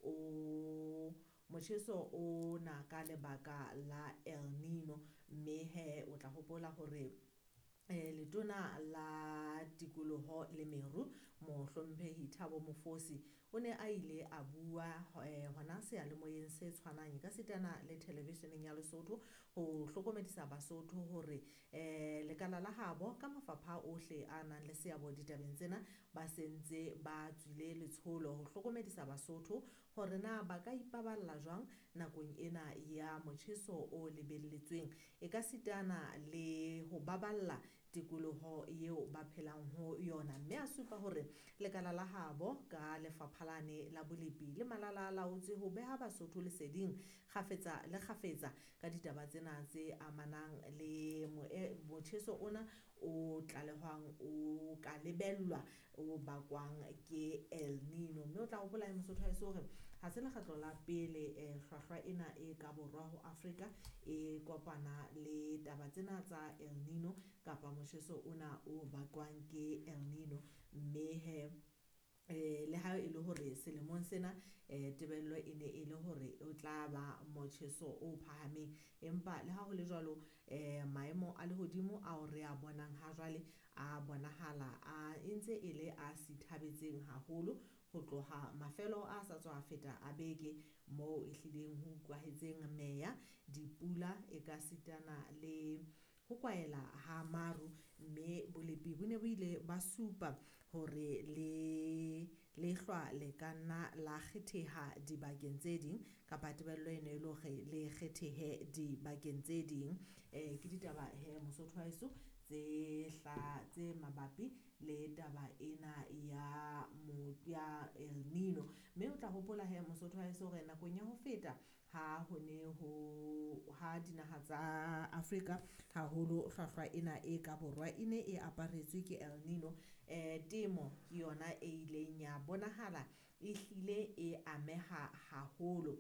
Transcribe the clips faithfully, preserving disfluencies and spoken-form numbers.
o motjheso o na ka lebaka la El Nino. Mme he o tla hopola hore eh, letona la tikoloho le meru mohlomphehi Thabo Mofosi o ne a ile a bua eh, hona seyalemoyeng se tshwanang ka sitana le televisioneng ya Lesotho ho hlokomedisa Basotho hore eh, lekala la habo ka mafapha ohle a nang le seabo ditabeng tsena ba sentse ba tswile letsholo ho hlokomedisa Basotho hore na ba ka ipaballa jwang nakong ena ya motjheso o lebelletsweng e ka sitana le ho baballa tikoloho eo ba phelang ho yona. Mme a supa hore lekala la habo ka lefapha lane la bolepi le malala a laotse ho beha Basotho leseding kgafetsa le kgafetsa ka ditaba tsena tse amanang le motjheso ona o tlalehwang o ka lebellwa o bakwang ke El Nino. Mme o tla hopola he Mosotho haeso hore ha se lekgetlo la pele eh, hlwahlwa ena e ka borwa ho Afrika e kopana le taba tsena tsa El Nino kapa motjheso ona o bakwang ke El Nino. Mme he eh le ha e le hore selemong sena eh tebello e ne e le hore o tla ba motjheso o phahameng, empa le ha ho le jwalo eh maemo a lehodimo ao re a bonang ha jwale a bonahala a ntse e le a sithabetseng haholo ho tloha mafelo a sa tswa feta a beke moo e hlileng ho utlwahetseng meya, dipula e ka sitana le ho kwaela ha maru. Mme bolepi bo ne bo ile ba supa hore le lehlwa le ka nna la kgetheha dibakeng tse ding kapa tebello e ne e le hore le kgethehe dibakeng tse ding. Eh ke ditaba he Mosotho wa heso tse hla tse mabapi le taba ena ya mo ya El Nino. Mme o tla hopola he Mosotho wa heso hore nakong ya ho feta ha ho ne ho ha dinaha tsa Afrika haholo hlwahlwa ena e ka borwa e ne e aparetswe ke El Nino, eh temo ke yona e ileng ya bonahala e hlile e ameha haholo.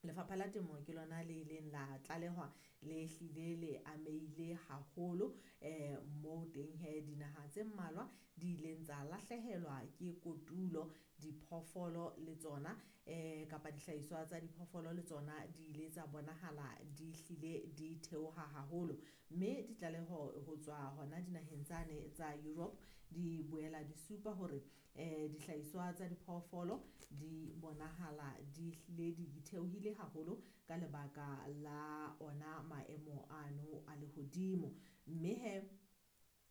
Lefapha la temo ke lona le ileng la tlalehwa le hlile le ameile haholo eh moo teng he dinaha tse mmalwa di ileng tsa lahlehelwa ke kotulo, diphoofolo le tsona eh kapa dihlahiswa tsa diphoofolo le tsona di ile tsa bonahala di hlile di theoha haholo. Mme ditlaleho ho tswa hona dinaheng tsane tsa Europe di boela di supa hore eh dihlahiswa tsa diphoofolo di bonahala di hlile di theohile haholo ka lebaka la ona maemo ano a lehodimo. Mme he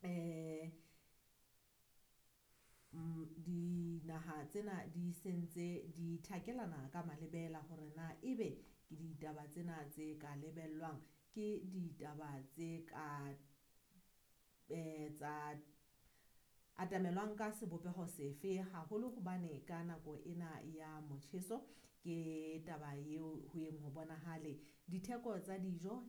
eh dinaha tsena di sentse di thakelana ka malebela hore na ebe ke ditaba tsena tse ka lebellwang ke ditaba tse ka eh tsa atamelwang ka sebopeho sefe haholo hobane ka nako ena ya motjheso ke taba eo ho yeng ho bonahale ditheko tsa dijo